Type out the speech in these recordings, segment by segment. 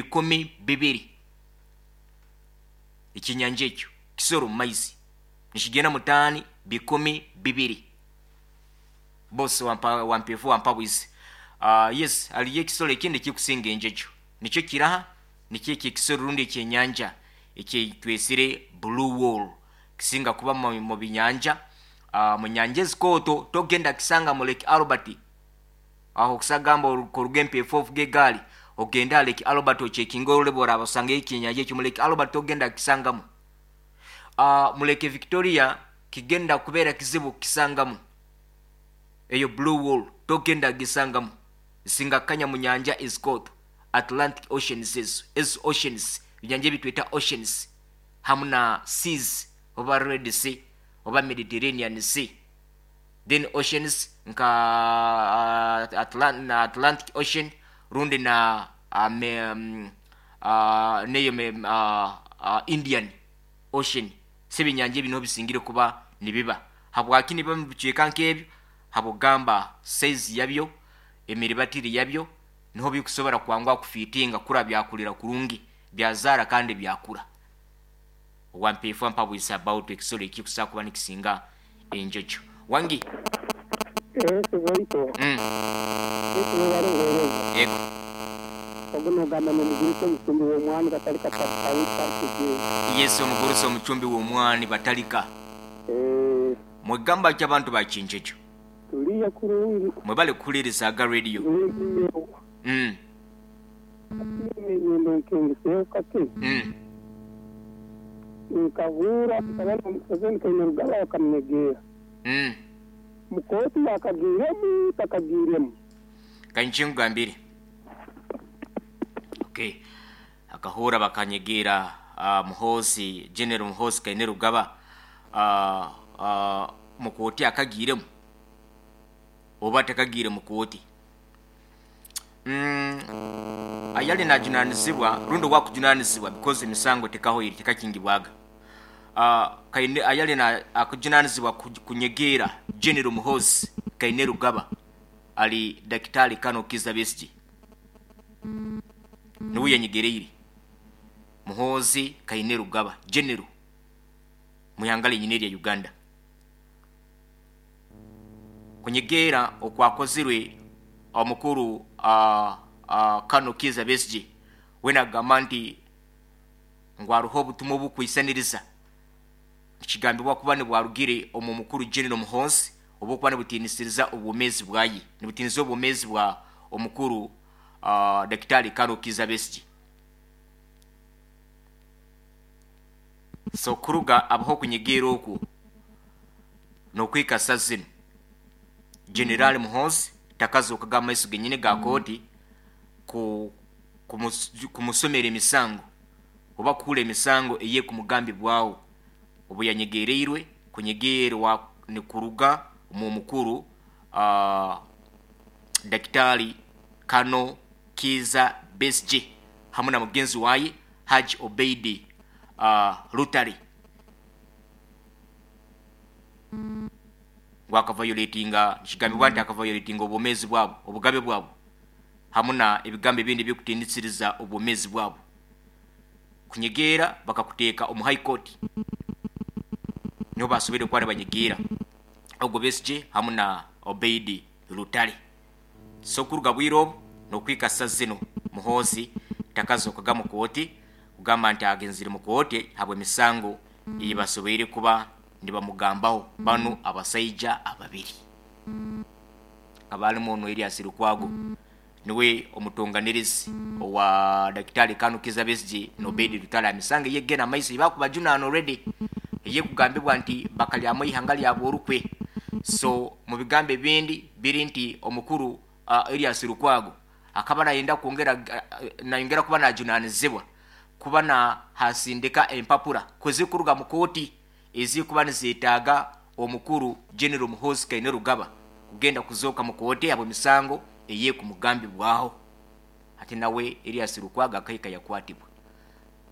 200. Ekyenyanja ekyo kisoro mu maizi nikigenda mu taani 200. Boss wampa wampefu wampa bwizi. Yes, haliyo ekisoro ekindi ekikusinga enjojo, nikyo kiraha? Nikyo eki ekisoro rundi ekyenyanja ekyetwesire blue wall, kisinga kuba mu binyanja, mu nyanja ezikooto. Togenda kisanga mu Lake Albert. Aho okusagamba oruga empeefu ovuga egaali ogende ha Lake Albert ocekinge orole bworaba osangayo ekyenyanja ekyo. Mu Lake Albert togenda kukisangamu. Mu Lake Victoria kigenda kubeera kizibu kukisangamu. Eyo blue wall togenda kugisangamu, zisinga kukanya mu nyanja ezikooto, Atlantic Oceans. Ezo oceans, ebinyanja ebitweta oceans hamu na seas, oba Red Sea oba Mediterranean Sea, then oceans nka Atlantic Ocean rundi na neyo Indian Ocean. So ebinyanja ebi niho bisingire kuba nibiba. Habwaki nibiba mu bicweka nk'ebyo? Habwokugamba size yabyo, emiribatire yabyo, niho bikusobora kwanguha kufiitinga kura byakulira kurungi, byazaara kandi byakura. Wampeefu ampabwise about ekisoro ekikusobola kuba nikisinga enjojo. Wangi? Yesu baitu. Yesu webale buheereza. Ego. Ogu nogamba n'omugurusi omucumbi w'omwani Batalika Tabitawita Kigezi. Yesu omugurusi omucumbi w'omwani Batalika. Eeh. Mwegamba ki abantu ba Kinjojo? Tuliyo kurungi. Mwebale kuhuliriza aga radio. Tuliyo. Hati niinyenda onkengeseho kake. Nkahuura mutabani wa Museveni Kainerugaba bakamunyegeera. Mu kooti yakagiiremu takagiiremu? Kanyije nkugambire. Okay. Akahuura bakanyegeera Muhoozi, General Muhoozi Kainerugaba mu kooti akagiiremu oba takagiire mu kooti? Ayali najunanizibwa rundi owakujunanizibwa, because emisango tekahoire, tekakingibwaga. Kaine ayali akujunanizibwa kunyegeera General Muhoozi Kainerugaba ali Dakitali Kano Kizza Besigye, nuwe yanyegereire Muhoozi Kainerugaba General muihanga lyenyini erya Uganda. Kunyegeera okwakozirwe omukuru Kano Kizza Besigye, weena akagamba nti ngu haruho obutumwa obukwisaniriza, nikigambibwa kuba nibwarugire omu mukuru General Muhoozi, obwokuba nibutiinisiriza obwomeezi bwaye, nibutiiniriza obwomeezi bwa omukuru Dakitali Kano Kizza Besigye. So kuruga abaho okunyegeera okwo n'okuhika sa zinu, General Muhoozi takazokaga mu maiso genyini ga kooti kumusomera emisango oba kuhurra emisango eyekumugambibwaho obu yanyegereirwe kunyegeerwa nikuruga omu mukuru Dakitali Kano Kiiza Besigye hamu na mugenzi waye Hajji Obeid Lutale, ngu akavayoletinga, nikigambibwa nti akavayoletinga obwomeezi bwabo, obugabe bwabo, hamu na ebigambo ebindi ebikutiinisiriza obwomeezi bwabo. Kunyegeera bakakuteeka omu High Court, niho basoboire kuba nibanyegeera ogwo Besigye hamu na Obeid Lutale. So kuruga bwire obu n'okuhika sa zinu, Muhoozi takazokaga mu kooti kugamba nti agenzire mu kooti habw'emisango ei basoboire kuba nibamugambaho banu abasaija ababiri. Akaba alimu onu Erias Lukwago, niwe omutonganirizi owa Dakitari Kanu Kizza Besigye na Obeid Lutale aha misango ey'ekugenda omu maiso ei bakubajunaana already ey'ekugambibwa nti bakalyamu eihanga lyabo orukwe. So mu bigambo ebindi biri nti omukuru Erias Lukwago akaba nayenda kwongera nayongera kuba najunanizibwa kuba nahasindika empapura kuzikuruga mu kooti ezikuba nizetaaga omukuru General Muhoozi Kainerugaba kugenda kuzooka mu kooti habw'emisango eyekumugambibwaho. Hati nawe Erias Lukwago akahika yakwatibwa.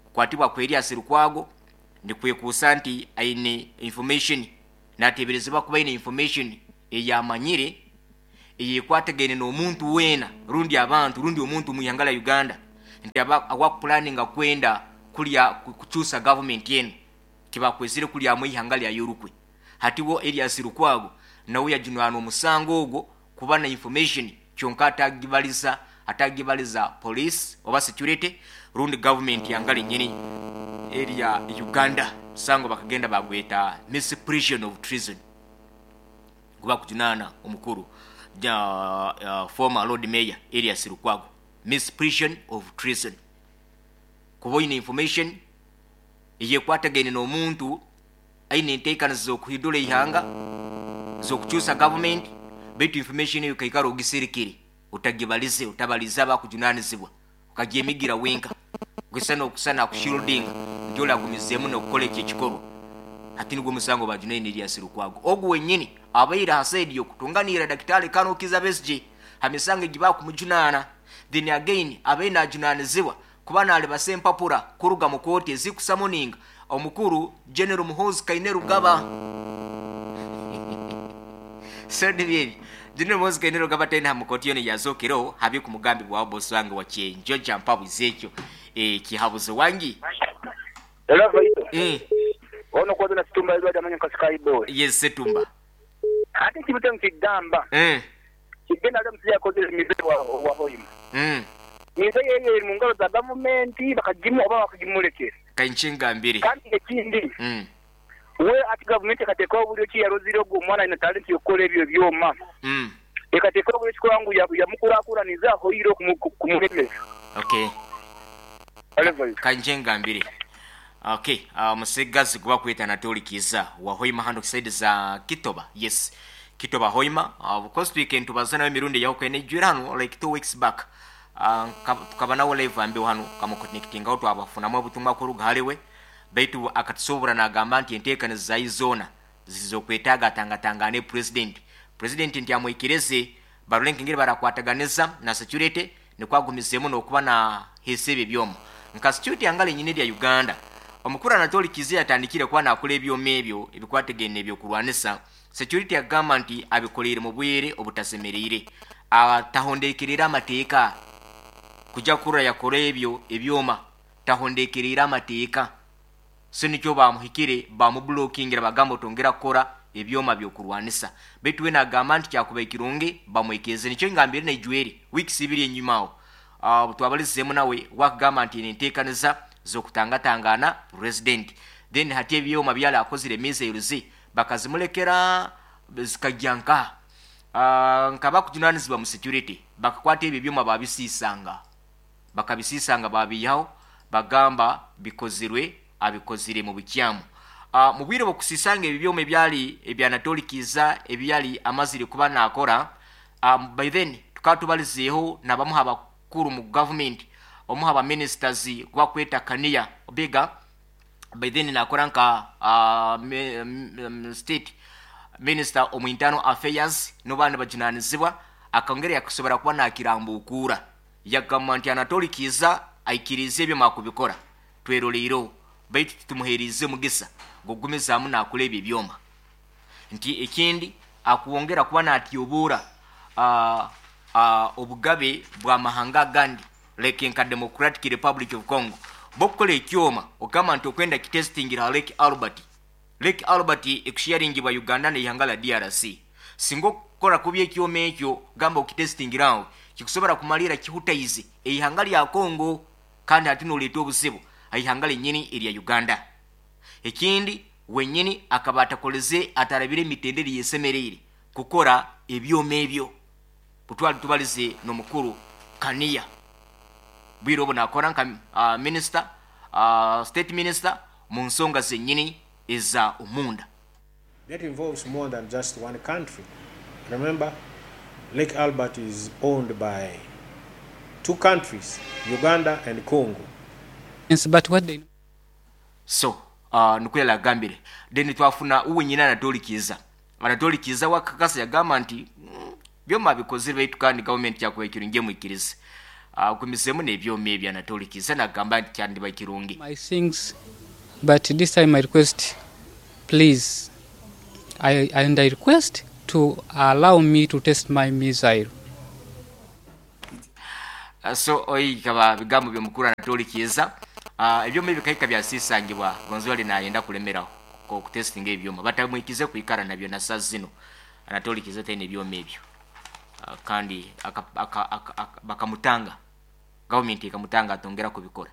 Kukwatibwa kwa Erias Lukwago nikwekuusa nti aine information, nateeberezebwa kuba aine information eyamanyire eyekwatagaine n'omuntu weena rundi abantu rundi omuntu omu ihanga lya Uganda. Nti awakupulaninga kwenda kulya kukyusa gavumenti enu kibakwezire kulyamu ihanga lya yorukwe. Hatiwo Erias Lukwago nawe yajunanwa omusango ogwo kuba na information kyonka atagibaliza police oba security rundi government yangali nyini area Uganda. Musango bakagenda bagweta misprision of treason kuba kujunana omukuru former Lord Mayor Erias Lukwago, misprision of treason, kuba oyine information eyekwatagaine n'omuntu aine enteekaniza z'okuhindura ihanga, z'okukyusa government, baitu information eyo kaikara ogiserekere, otagibalize, otabalize abakujunanizibwa, okagyemigira wenka kwisa n'okusana kushieldinga nti olagumizeemu n'okukola ekyo ekikorwa. Hati nigwo musango bajunaine Erias Lukwago ogu wenyini abaire ha side y'okutunganira Daktari Colonel Kizza Besigye ha misango egi bakumujunaana. Then again abaire najunanizibwa kuba nalibasa empapura kuruga mu kooti ezikusamoninga omukuru General Muhoozi Kainerugaba. So nibyo General Muhoozi Kainerugaba tena mu kooti yona yazokereho habi ku mugambi bwa bosi wange wa kyenjoja mpabuze ekyo kihabuze wangi. Hello, Ono kwaza na Situmba Edward amanya nka Sky Boy. Yes, Setumba. Ate kibuto nkigamba. Kigenda ali omusajja yakozere mize wa Hoima. Mize yeye eri mu ngalo za gavumenti bakagimu oba bakagimulekera. Kanchinga mbiri. Kandi ekindi. We ati gavumenti ekateekawo obulyo ki yarozire ogwo omwana alina talenti y'okukola ebyo ebyoma. Ekateekawo obulyo kikola ngu yamukurakuraniza ahoire kumulemesa. Okay. Kanchinga mbiri. Okay, musigazi kuba kweta Anatoli Kiza wa Hoima hando side za Kitoba. Yes. Kitoba Hoima. Of course we can tubazana emirundi yaho kene jwira hano like 2 weeks back. Tukaba nawo live ambe hano kama connecting out abafunamu obutumwa kuruga haliwe. Baitu akatusobora nagamba nti enteekaniza za izona zizokwetaaga tangatangane president. President nti amwikirize barulenke ngeri barakwataganiza na security nikwagumizemu n'okuba na hesebe ebyoma. Nka security angale nyine ya Uganda. Omukuru Anatoli Kiza yatandikire kuba nakola ebyoma ebyo ebikwategene ebyokurwanisa. Security agamba nti abikoleire mu bwere obutasemereire. Atahondekerera amateeka kujja kurra yakora ebyo ebyoma tahondekerera amateeka. So nikyo bamuhikire bamublokingira bagamba otongera kukora ebyoma byokurwanisa. Baitu we nagamba nti kyakuba ekirungi bamwekeze. Nikyo ngambire naijweri weeks ibiri enyuma aho. Twabalizemu nawe wakagamba nti enteekaniza z'okutangatangana president. Then hati ebyoma byali akozire missiles bakazimulekera zikajyanka. Nkaba kujunanizibwa mu security bakakwata ebyo byoma babisisanga. Bakabisisanga babiyaho bagamba bikozirwe abikozire mu bukyamu. Mu bwire bw'okusisanga ebyo byoma ebyali ebya Anatoli Kiza ebyali amazire kuba nakora, by then tukatubalizeeho nabamuha abakuru mu government, omuha aba ministers kubakweta Kania Obega, by then nakora nka state minister omu internal affairs n'abandi bajunanizibwa, akongera yakusobora kuba nakirambukura. Yagamba nti Anatoli Kiza aikirize ebyo makubikora tweroleiro, baitu tumuherize mugisa gugumizaamu nakora ebyo byoma. Nti ekindi akuwongera kuba natyobura obugabe bwa mahanga agandi like nka Democratic Republic of Congo. Bokukola ekyoma ogamba nti okwenda kitestingira Lake Albert. Lake Albert ekusharingibwa Uganda n'eihanga la DRC. Singa okukola kubi ekyoma ekyo gamba okitestingirawo kikusobola kumalira kihutaize eihanga lya Congo, kandi ate noleeta obuzibu eihanga lyennyini erya Uganda. Ekindi wenyini akaba atakoleze atarabire emitendera yesemereire kukora ebyoma ebyo. Butwali tubalize n'omukuru Kania bwire obu nakora nka minister, state minister mu nsonga zennyini eza omunda. That involves more than just one country. Remember, Lake Albert is owned by two countries, Uganda and Congo. Yes, but what they So, nukwela agambire. Then twafuna uwe nyina Anatoli Kiza. Anatoli Kiza wakakasa yagamba nti byoma bikozire baitu kandi government yakuba ekirungi emwikirize. Kumisemu n'ebyoma ebyo Anatoli Kiza nagamba nti kyandiba kirungi. My things, but this time I request, please, I request to allow me to test my missile. So oyi kaba bigambo byomukuru Anatoli Kiiza. Ebyoma ebikahika byasisangibwa gonzi wali nayenda kulemeraho okutestinga ebyoma batamwikize kwikara nabyo na saa zino. Anatoli Kiiza taine ebyoma ebyo. Kandi bakamutanga, gavumenti ekamutanga atongera kubikora,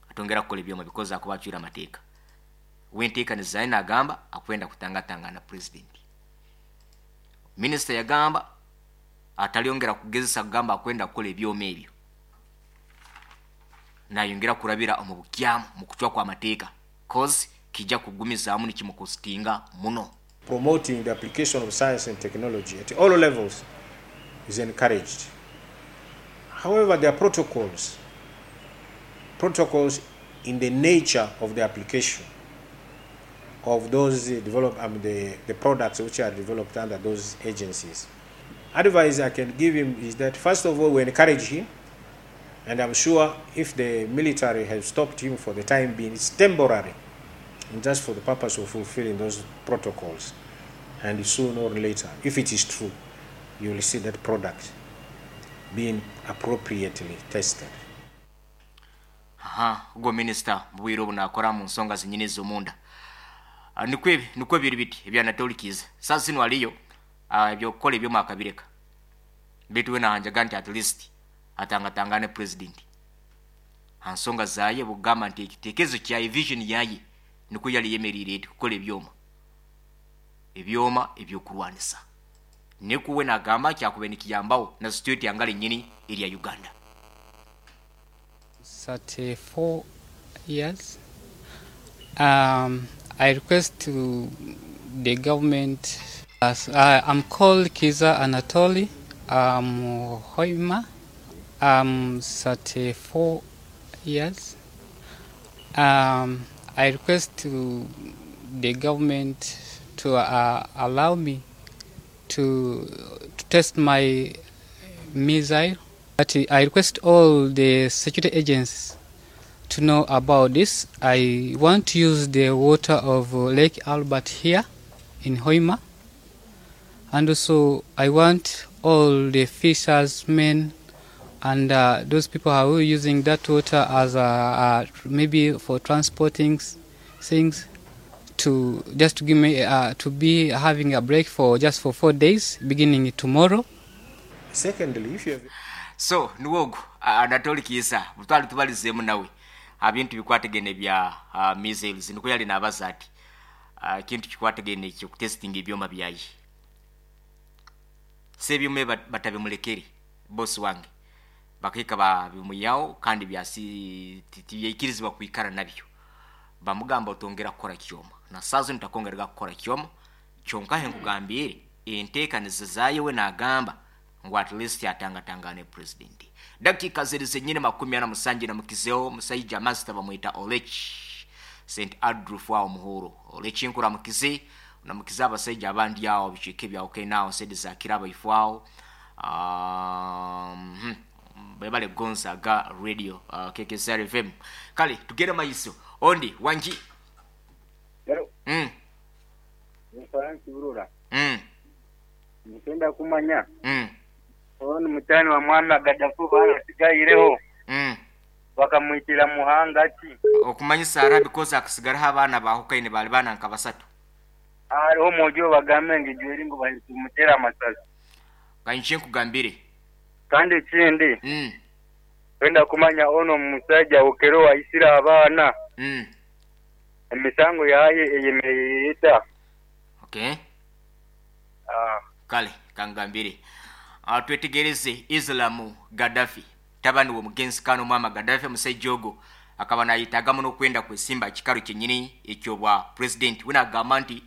atongera kukola ebyoma bikoze akuba acwire amateeka. Wenteekaniza naye nagamba akwenda kutangatangana president. Minisita yagamba atalyongera kugezesa kugamba akwenda kukola ebyoma ebyo, nayongera kurabira omu bukyamu mu kucwa kw'amateeka, cause kijja kugumizaamu nikimukostinga muno. Promoting the application of science and technology at all levels is encouraged. However, there are protocols in the nature of the application of those develop, I mean, the products which are developed under those agencies. Advice I can give him is that first of all, we encourage him, and I'm sure if the military has stopped him for the time being, it's temporary, and just for the purpose of fulfilling those protocols. And sooner or later, if it is true, you will see that product being appropriately tested. Aha, ubwo minisita mu bwire obu nakora mu nsonga zinyine ez'omunda. Nikwo ebi, nikwo biri biti ebya Anatoli Kiiza. Saa zino aliyo ebyokukola ebyoma akabireka, baitu we nahanjaga nti at least atangatangane president ha nsonga zaye, bugamba nti ekitekerezo kyaye, vision yaye nikwo yali yemeriire eti kukola ebyoma ebyokurwanisa, nikuwe nagamba kyakube nikiyambaho na security yangale nyini erya Uganda. 34 years. I request to the government. As I'm called Kiiza Anatoli. I'm Hoima. I'm 34 years. I request to the government to allow me to test my missile. But I request all the security agents to know about this. I want to use the water of Lake Albert here in Hoima. And also I want all the fishermen and those people who are using that water as a maybe for transporting things to just to give me to be having a break for just for 4 days beginning tomorrow. Secondly, if you have So niwogo Anatoli Kiiza butwali tubalizemu nawe abintu bikwategene bya missiles, niko yali nabaza ati kintu kikwategene ekyo testing ebyoma byayi sebyume batabimulekeri boss wange bakika babimuyao kandi byasi tiyakirizibwa kuikara nabyo, bamugamba otongera kukora kyoma na sazo nitakongerega kukora kyoma kyonka nkugambire enteekaniza zaye we nagamba ngu at least atangatangane president. Dakika ziri zenyine 47 na mukizeo musajja master bamwita Olech St Andrew wa Muhoro. Olech nkura mukize na mukize abasajja abandi awo bicike bya okay now said zakira ifwao bebale Gonzaga radio KKSR FM. Kale tugere maiso ondi wanji. Hello. Ni Burura. Nipenda kumanya. Ono mutani wa mwana Gaddafi bana sigaireho. Bakamwitira muhanga ati okumanyisa ara because akasigara abana bahukaine bali bana nka basatu. Hariho mojo bagambe ngijweri ngo balimutera amasazi. Kanche nkugambire. Kandi ikindi. Wenda kumanya ono musajja okero waisira abana. Emisango yaye eyemeyeta. Okay. Kale kangambire. Twetegereze Islamu Gaddafi tabani wo mugenzi kano mama Gaddafi musajja ogo akaba nayitaga muno kwenda kwesimba kikaro kyenyini ekyo bwa president wena agamba nti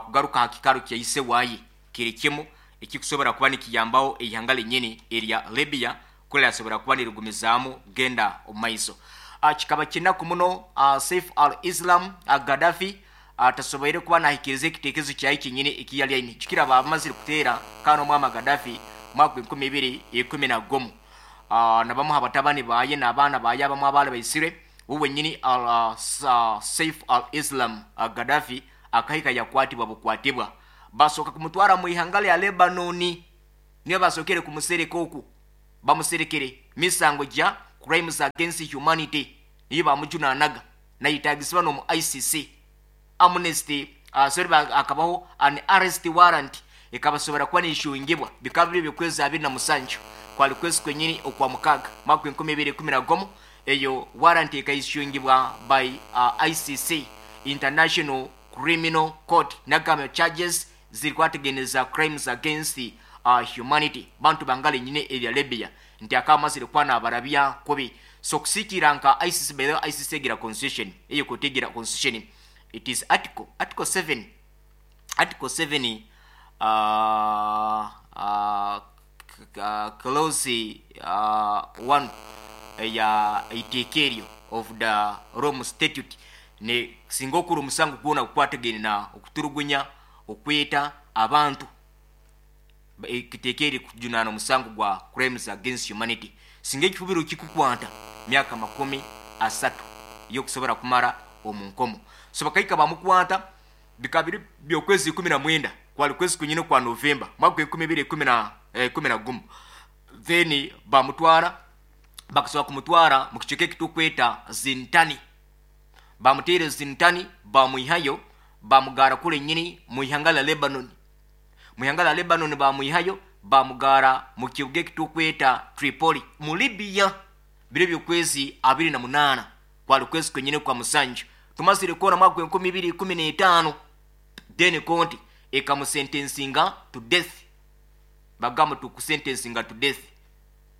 kugaruka hakikaro kyayise wayi kiri kimu ekikusobora kuba nikiyambaho eihanga lenyini erya Libya kule asobora kuba nirugumizaamu genda omaiso. Kikaba kinaku muno Saif al-Islam Gaddafi atasoboire kuba nahikiriza ekitekerezo kyayi kyenyini ekiyali aine kikira bamazire kuteera kano mama Gaddafi mwaka 2011 nabamuha batabani baye n'abaana baye abamu abaali baisire wowe nyini Saif al-Islam Gaddafi akahika yakwatibwa bukwatibwa basoka kumutwara mu ihanga lya Lebanoni niyo basokere kumusereka oku Bamuserekere misango gya crimes against humanity niyo bamujunaanaga nayetagisibwa n'omu ICC. Amnesty sorry, akabaho an arrest warrant ekabasobora kuba nishungibwa. Bikaba biri byokwezi 27 kwali kwezi kwenyini okwa mukaaga mwaka 2011. Eyo warrant ekayishungibwa by ICC, International Criminal Court, nagamba charges ziri kwategeneza crimes against humanity. Bantu bangale nyine erya Libya nti akamazire kwana abarabya kubi. So kusikira nka ICC, by the way, ICC egira constitution, eyo kotegira constitution, it is article 7, article 7 clause 1 ya iteeka eryo of the Rome Statute, ne singa okura omusango gwona gukwatagene na okuturugunya, okweta abantu, ekiteeka eri kujunaana omusango gwa crimes against humanity, singa ekifubiro kikukwata myaka 30 yokusobora kumara omu nkomo. So bakaika bamukwata bikaba biri byokwezi 19 kwali kwezi kunyine kwa Novemba mwaka 2011. Then bamutwara, bakasobola kumutwara mu kicweka ekitukweta Zintani. Bamuteere Zintani, bamwihayo, bamugara kule nyini mu ihanga la Lebanon. Mu ihanga la Lebanon bamwihayo, bamugara mu kibuga ekitukweta Tripoli mu Libya, biro byokwezi 28 kwali kwezi kwenyine kwa musanju tumazire kuona mwaka 2015. Then konti ekamusentensinga to death, bagamba tukusentensinga to death,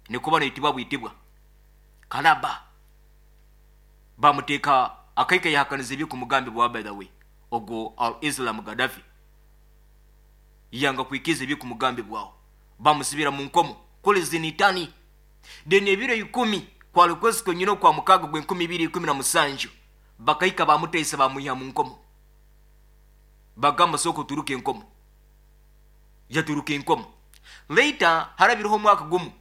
nikuba noitibwa bwitibwa kalaba. Bamuteeka akaika yahakaniza ebyokumugambi bwa, by the way, ogwo Al Islam Gaddafi yanga kwikiza ebyokumugambi bwawo, bamusibira mu nkomo kule Zinitani. Then ebiro 10 kwali kwezi kwenyine kwa mukaaga gwe 2017 bakaika bamutaisa, bamwiha mu nkomo, bagamba soko turuka enkomo, yaturuka enkomo. Later harabireho omwaka gumu,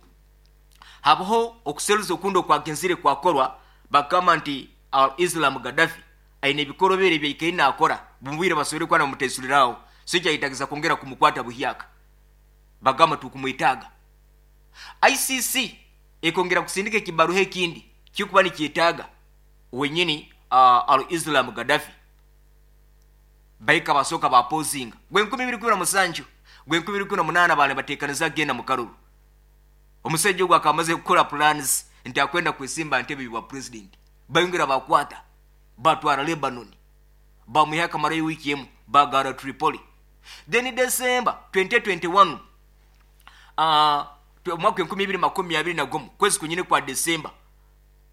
habaho okuseruza okundi okwagenzire kwakorwa, bagamba nti Al Islam Gaddafi aine ebikorobere ebyaikaire nakora bumubwire basobore kuba namutaisuliraho, so kyayetagiza kwongera kumukwata buhyaka, bagamba tukumwetaaga. ICC ekongera kusindika ekibaruha ekindi kikuba nikyetaaga wenyini Al Islam Gaddafi. Baika basooka bapozinga gwe 2017, gwe 2018 bale bateekaniza genda mu karuru. Omusajja ogwo akamaze kukora plans nti akwenda kwesimba ntebe bwa president, bayongera bakwata, batwara Lebanon, bamuha akamarayo wiiki emu, bagara Tripoli. Then December 2021, omwaka 2021, kwezi kunyine kwa December,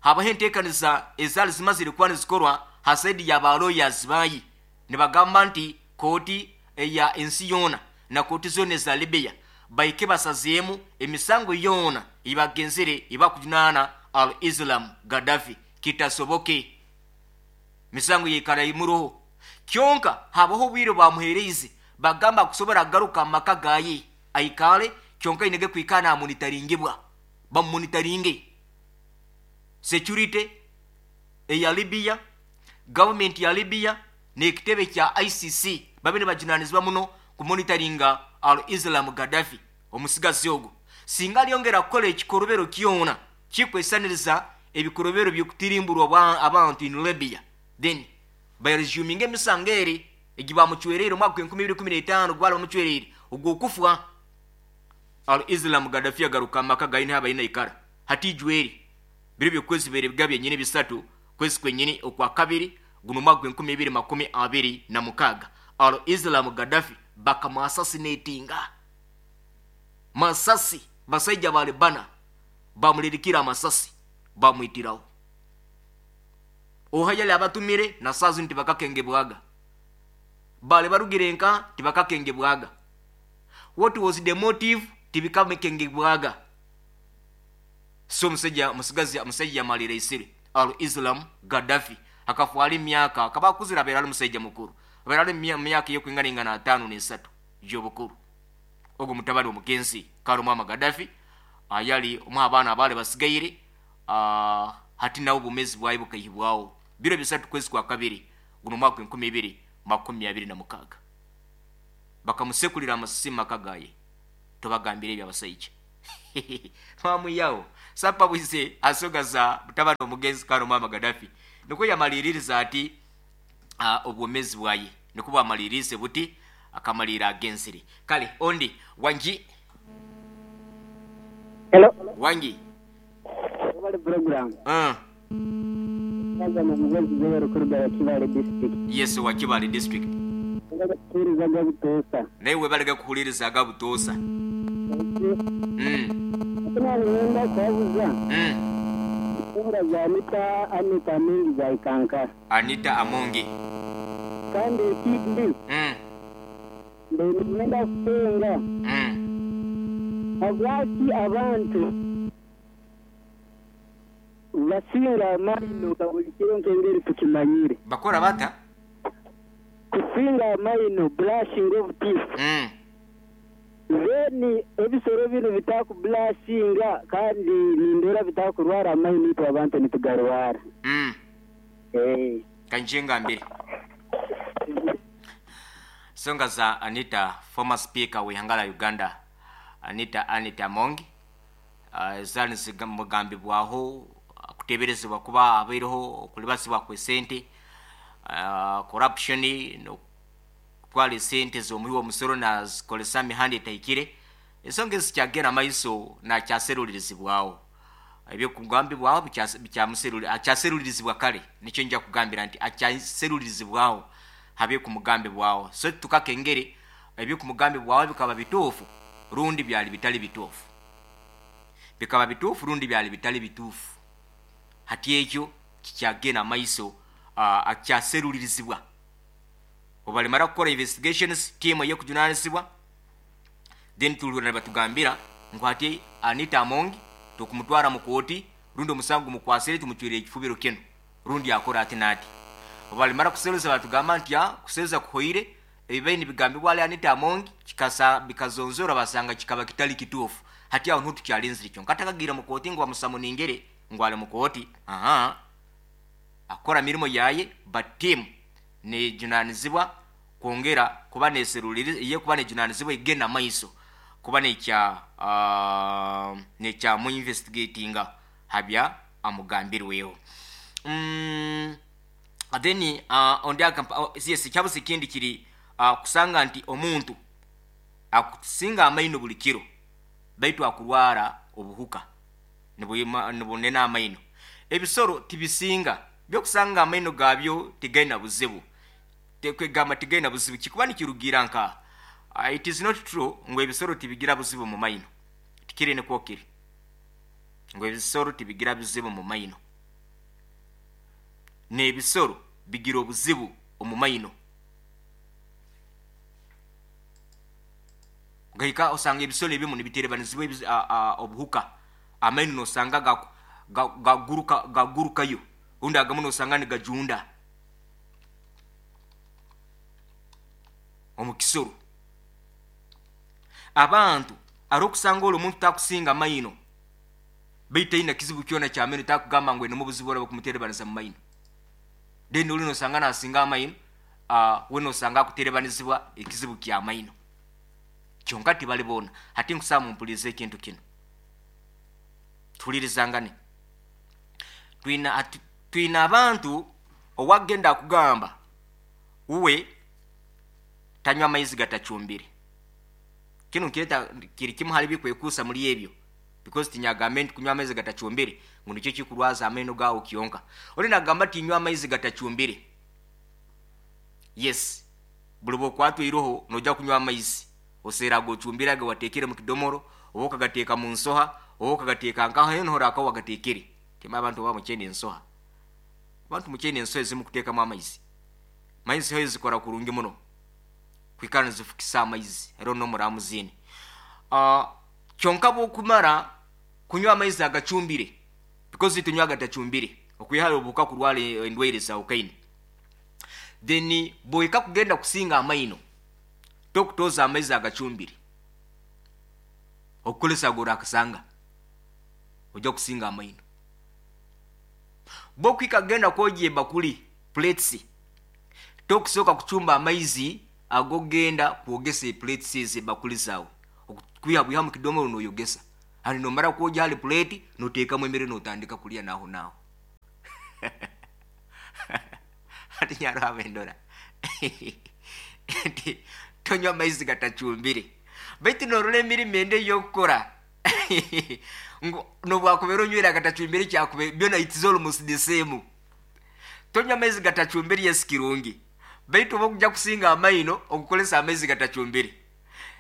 habaho enteekaniza ezaali zimazire kuba nizikorwa ha side ya ba lawyers bayi, nibagamba nti kooti eya ensi yoona na kooti zoona eza Libya baike basazeemu emisango yoona ebagenzere ebakujunaana Al Islam Gaddafi kitasoboke, misango yeikara imuroho. Kyonka habaho obwire bamuhereize, bagamba kusobora kugaruka mu maka gaye aikale, kyonka inege kwikana namonitaringibwa, bamumonitaringe. Security eya Libya, government ya Libya n'ekitebe kya ICC babe nibajunanizibwa muno kumonitaringa Al Islam Gaddafi. Omusigazi ogwo singa alyongera kukola ekikorobero kyona kikwesaniriza ebikorobero by'okutirimburwa abantu in Libya, then baresuminga emisango eri egibamucwereire omwaka 2015 gwali bamucwereire ogw'okufa. Al Islam Gaddafi agaruka amaka gaine abaine ikara hati ijweri biri byokwezi bere bigabye nyine bisatu kwezi kwenyini okwa kabiri guno mwaka 2026. Al Islam Gaddafi bakamuassassinatinga masasi, basajja bale bana bamulirikira amasasi, bamwitirawo. Ohayali abatumire na sazi nti bakakengebwaga, bale barugire nka tibakakengebwaga. What was the motive? Tibikakengebwaga. So musajja musigazi musajja yamalira isire Al Islam Gaddafi akafwala emyaka akaba akuzire, abeera ali musajja mukuru, abeera ali myaka ey'okwinganingana 53 gy'obukuru. Ogwo mutabani omugenzi Karumama Gaddafi ayali omu abaana abaali basigaire, hati nawe obumezi bwaye bukaihibwaho biro 3 kwezi kwa kabiri guno mwaka 2026, bakamusekulira amasasi mu maka gaye. Tobagambire ebyo abasajja. Bamwihaho Sapa Bwise asoga za mutabani omugenzi kano Muammar Gaddafi nikwo yamaliririza ati obwomezi bwaye nikwo bwamalirize buti akamalira agenzire. Kale ondi wangi. Hello. Wangi. Webale program. Kaza mu mugezi Joel kuruga wa Kibale district. Yes, wa Kibale district. Webale kuhuliriza aga butoosa. Naye webalega kuhuliriza aga butoosa. Ate nangenda kubabuza. Ensonga za Anita, Anita Amongi za Ikankara. Anita Amongi. Kandi ekindi. Mbaire niinyenda kusenga. Habwaki abantu basinga amaino nka buli kiro nk'engeri tukimanyire? Bakora bata? Kusinga amaino, brushing of teeth. Then ebisoro binu bitakubulashinga kandi nindora bitakurwara amaino itwe abantu nitugarwara. Kanje ngambire. Songa za Anita, former speaker w'ihanga la Uganda, Anita Anita Amongi, zali zimugambibwaho kuteberezebwa kuba abaireho okulibasibwa kw'esente, corruption, nokutwara esente z'omuhi w'omusoro nazikozesa mihanda etahikire. Ensonga ezi zikyagenda maiso nakyaserulirizibwaho. Ebyokugambibwaho akyaserulirizibwa kale, nikyo nja kugambira nti akyaserulirizibwaho habyekumugambibwaho. So tukakengere ebyokumugambibwaho bikaba bituufu rundi byali bitali bituufu. Bikaba bituufu rundi byali bitali bituufu. Hati ekyo kikyagenda maiso, akyaserulirizibwa. Obalimara kukora investigations, team ey'okujunanizibwa, then tulihurira nibatugambira ngu hati Anita Amongi tukumutwara mu kooti, rundi omusango mukwasire tumucwire ekifubiro kinu, rundi akora ati n'ati. Obalimara kuseruza batugamba nti kuseruza kuhoire, ebibaire nibigambibwa ali Anita Amongi bikazonzora basanga kikaba kitali kituufu. Hati aho niho tukyalinzire kyonka atakagiire mu kooti ngu bamusamuningire ngu ali mu kooti. Aha. Akora mirimo yaye, but team nejunanizibwa kwongera kuba neseruliriza, ye kuba nejunanizibwa egenda maiso kuba nekya mu investigatinga habya amugambirweho. Then ondi akampa, oh, yes, kyabuze ekindi kiri kusanga nti omuntu akusinga amaino buli kiro baitu akurwara obuhuka nibunena amaino. Ebisoro tibisinga byokusanga amaino gabyo tigaina buzibu, tekwegamba tigaina buzibu kikuba nikirugira nka it is not true ngu ebisoro tibigira buzibu mu maino. Tikiri nikwo kiri ngu ebisoro tibigira buzibu mu maino. N'ebisoro bigira obuzibu omu maino. Gaika osanga ebisoro ebimu nibiterebanizibwa obuhuka. Amaino nosanga gagurukayo. Undi agamu nosanga nigajunda omu kisoro. Abantu arokusanga olo omuntu takusinga maino, baitu taina kizibu kyona kya maino, takugamba ngu enomu obuzibu oraba kumuterebanisa mu maino. Then oli nosanga nasinga amaino, we nosanga akuterebanizibwa ekizibu kya maino. Kyonka tibali boona. Hati nkusaba mumpulirize ekintu kino. Tuhulirizangane. Twina abantu owagenda akugamba uwe tanywa amaizi gatacumbire. Kino nkireta kiri kimu hali bikwekuusa muri ebyo. Because tinyagambe nti kunywa amaizi gatacumbire ngu nikyo kikurwaza amaino gawo kyonka. Oli nagamba tinywa amaizi gatacumbire. Yes, buli bwokwatwa iroho nojja kunywa amaizi. Oseera gocumbire aga watekere mu kidomoro, oba okagateeka mu nsoha, oba okagateeka nkaho heno hora akaho wagatekere. Tema abantu oba mukyene ensoha. Abantu mukyene ensoha ezimu kuteekamu amaizi. Maizi hoyo zikora kurungi muno. Kwikara nizifukisa amaizi, era n'omuramuziini. Kyonka bw'okumara kunywa amaizi agacumbire, because tunywa agatacumbire, okwihayo obuhuka kurwara endwaire za ukaini. Then bw'ohika kugenda kusinga amaino, tokutoza amaizi agacumbire. Okukozesa ago orakasanga, ojja kusinga amaino. Bw'okuhika kugenda kwogya ebakuli, plates, tokusooka kucumba amaizi ag'ogenda kwogesa eplates ezo ebakuli zaawe. Okwiha bwiha mu kidomoro n'oyogesa. Ani nomara kwogya hali plate noteekamu emere notandika kulya naho naho. Hati nyarwaba endora nti tonywa amaizi gatacumbire, baitu norora emirimo endi ey'okukora ngu nobwakubera onywere agatacumbire kyakube byona it's almost the same. Tonywa amaizi gatacumbire, yes, kirungi, baitu oba okujja kusinga amaino okukolesa amaizi gatacumbire.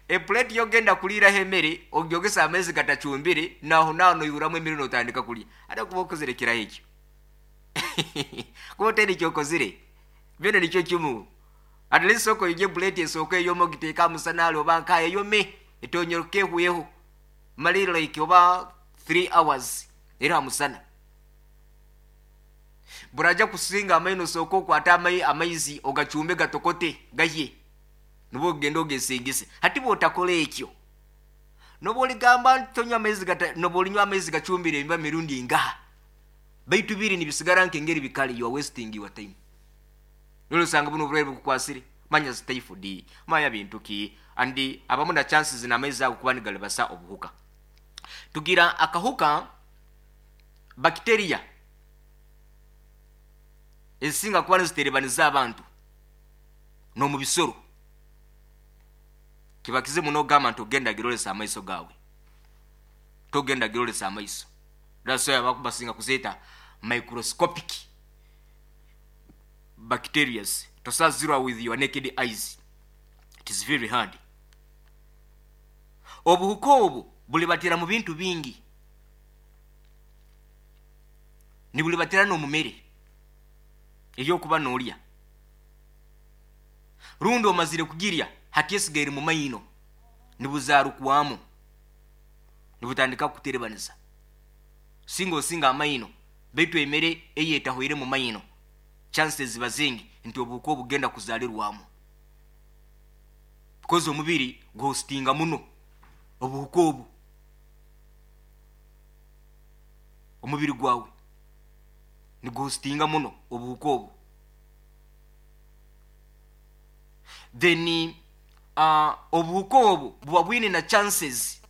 Epuleti yogenda kuliiraho emere ogyogesa amaizi gatacumbire, naho naho noihuramu emere notandika kulya. Ate kuba okozere kiraho ekyo kuba otaine ekyokozire, byona nikyo kimu. At least sooka oyogye epuleti esooka eyome, ogiteeke aha musana hali oba nkaha eyome etonyoroke ehweho, male like oba 3 hours eri aha musana. Buraja kusinga amaino osooke okwate amaizi ogacumbe gatokote gahye, nibwo ogenda ogesingise. Hati bwotakora ekyo, nobu oligamba nti tonywa amaizi gata, nobu olinywa amaizi gacumbire emiba mirundi ingaha, baitu biri nibisigara nk'engeri bikali, you are wasting your time. Nolo osanga buno oburwaire bukukwasire, manya zi typhoid, manya bintu ki, and abamu na chances n'amaizi ago kuba nigalibasa obuhuka. Tugira akahuka bacteria ezisinga kuba niziterebaniza abantu n'omu bisoro. Kiba kizibu n'ogamba nti ogenda girolesa amaiso gawe, togenda girolesa amaiso. That's why abakubasinga kuzeeta microscopic bacterias, tosazirwa with your naked eyes, it is very hard. Obuhuka obu bulibatira mu bintu bingi, nibulibatira n'omu mere ey'okuba n'olya, rundi omazire kugirya hati esigaire mu maino, nibuzarukwamu nibutandika kukuterebaniza. Singa osinga amaino, baitu emere eyetahoire mu maino, chances ziba zingi nti obuhuka obugenda kuzalirwamu, because omubiri guhostinga muno obuhuka obu. Omubiri gwawe niguhostinga muno obuhuka obu. Then obuhuka obu buba bwine na chances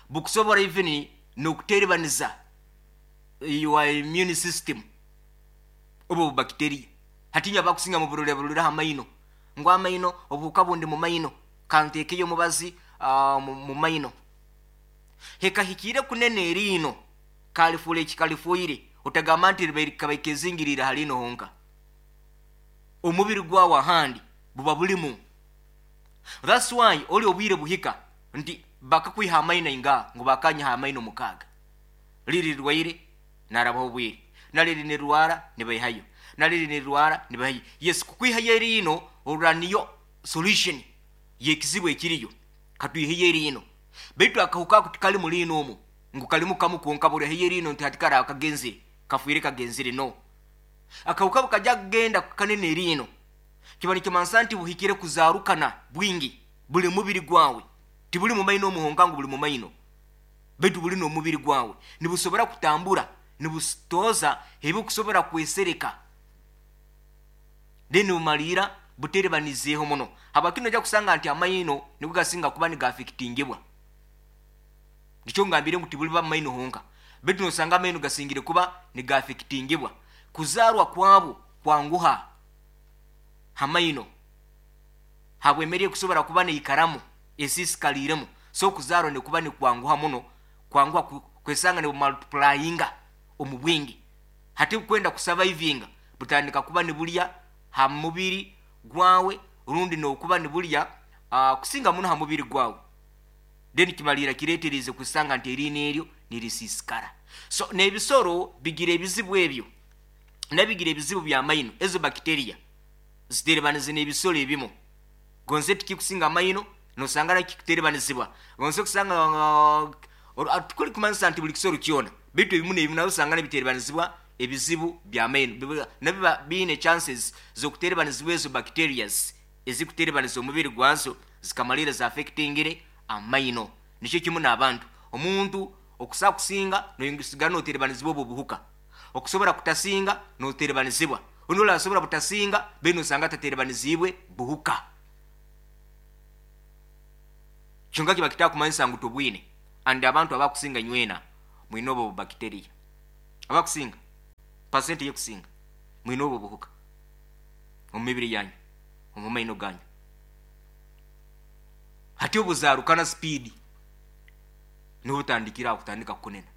bukusobora even n'okuterebaniza your immune system, obu bacteria. Hati inywe abakusinga muburore burore ha maino, ngu amaino obuhuka bundi mu maino, kanteekeyo omubazi mu maino. Hekahikire kunene eriino kalifuura ekikalifuire, otagamba nti ribaire kabaire kezingiriire ha liino honka. Omubiri gwawe ahandi buba bulimu. That's why oli obwire buhika nti bakakwiha amaino ingaha, ngu bakanyiha amaino 6. Liri rirwaire narabaho obwire, naliri nirwara nibaihayo, naliri nirwara nibaihayo. Yes, kukwihayo eriino orora niyo solution y'ekizibu ekiriyo, katwiheyo eriino. Baitu akahuka ako tikali mu liino omu, ngu kalimu kamu kwonka, burihayo eriino nti hati karaba kagenzire, kafiire kagenzire. No, akahuka bukajya kugenda kanene eriino, kiba nikimansa nti buhikire kuzarukana bwingi buli mubiri gwawe. Tibuli mu maino omuhonka ngu buli mu maino, baitu buli n'omubiri gwawe. Nibusobora kutambura, nibutoza ebikusobora kwesereka, then bumalira buterebanizeeho muno. Habwaki nojja kusanga nti amaino nigo gasinga kuba nigaafectingibwa. Nikyo ngambire ngu tibuliba mu maino honka, baitu nosanga amaino gasingire kuba nigaafectingibwa. Kuzarwa kwabo kwanguha ha maino habw'emere ekusobora kuba neikaramu esiisikaliremu, so okuzarwa nikuba nikwanguha muno, kwanguha kwesanga nibumultiplyinga omu bwingi. Hati bukwenda kusurvivinga, butandika kuba nibulya ha mubiri gwawe, rundi nokuba nibulya kusinga muno ha mubiri gwawe, then kimalira kireeterize kusanga nti eriino eryo nirisiisikara. So n'ebisoro bigira ebizibu ebyo, nabigira ebizibu by'amaino. Ezo bacteria ziterebanize n'ebisoro ebimu. Gonze tikikusinga amaino nosanga nakikuterebanizibwa, gonze kusanga tukuli kumanyisa nti buli kisoro kyona, baitu ebimu n'ebimu nabyo osanga nibiterebanizibwa ebizibu by'amaino, nabiba biine chances z'okuterebanizibwa ezo bacterias ezikuterebaniza omubiri gwazo zikamalira zaffectingire amaino. Nikyo kimu n'abantu, omuntu okusa kusinga nosigara noterebanizibwa obwo buhuka, okusobora kutasinga noterebanizibwa, ondi orasobora butasinga baitu nosanga ataterebanizibwe buhuka. Kyonka kiba kitakumanyisa ngu tobwine. And abantu abakusinga nywena mwine obwo bacteria, abakusinga pasenti yekusinga mwine obwo buhuka omu mibiri yanyu, omu maino ganyu. Hati obuzarukana speed nobutandikira aho kutandika kukunena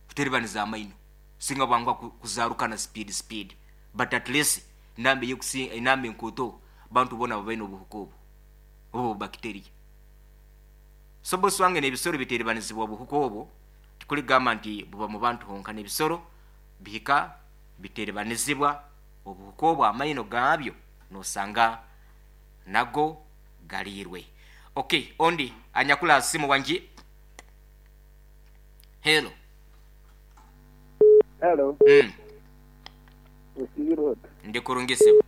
kuteribaniza amaino singa bwanguha kuzarukana speed speed, but at least enamba eyekusinga, enamba enkoto bantu bona babaine obuhuka obu obu bacteria. So bosi wange, n'ebisoro biteeribanizibwa obuhuka obwo, tikuligamba nti buba mu bantu honka, n'ebisoro bihika biteeribanizibwa obuhuka obwo, amaino gaabyo nosanga nago galiirwe. Okay, ondi anyakula simu wangi. Hello. Hello. Osiibire ota? Ndi kurungi sebo.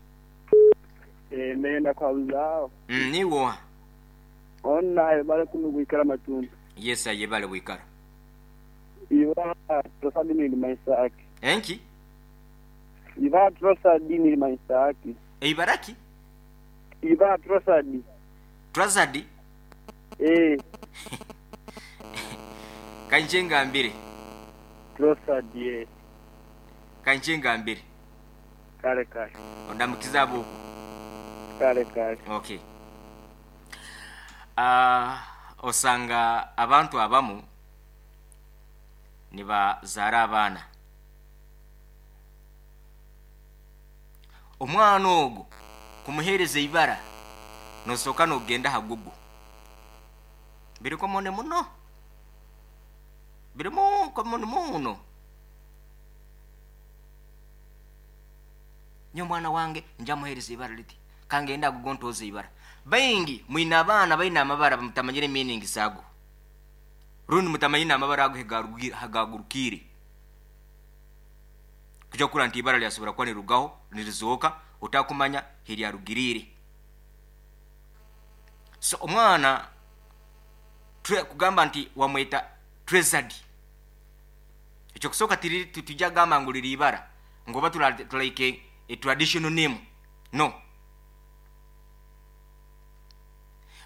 Nenda kuhabuzaho. Niiwe oha? Onu nayebare kunu gwikara Matuntu. Yes, ayebare bwikara. Iba Trosadi nirimanyisa ki? Enki? Iba Trosadi nirimanyisa ki? Eibara ki? Iba Trosadi. Trosadi? Ee. Kankye ngambire. Trosadi, ee. Kankye ngambire. Kale kale. Ondamukize ab'okwo. Kale kale. Okay. Osanga abantu abamu nibazaara abaana. Omwana ogwo kumuheereza eibara nosooka nogenda aha Google. Biri common muno. Birimu common muno. Nyowe omwana wange nja muheereza eibara riti. Kangende aha Google ntooze eibara. Baingi mwine abaana baine amabara mutamanyire meaning zaago. Rundi mutamanyire n'amabara ago hagagurukiire. Kuja kurora nti ibara lyasobora kuba nirirugaho nirizooka otakumanya hiryarugiriire. So omwana kugamba nti wamweta Treasured. Ekyo kusooka titujja kugamba ngu liri ibara ngu oba like a traditional name. No.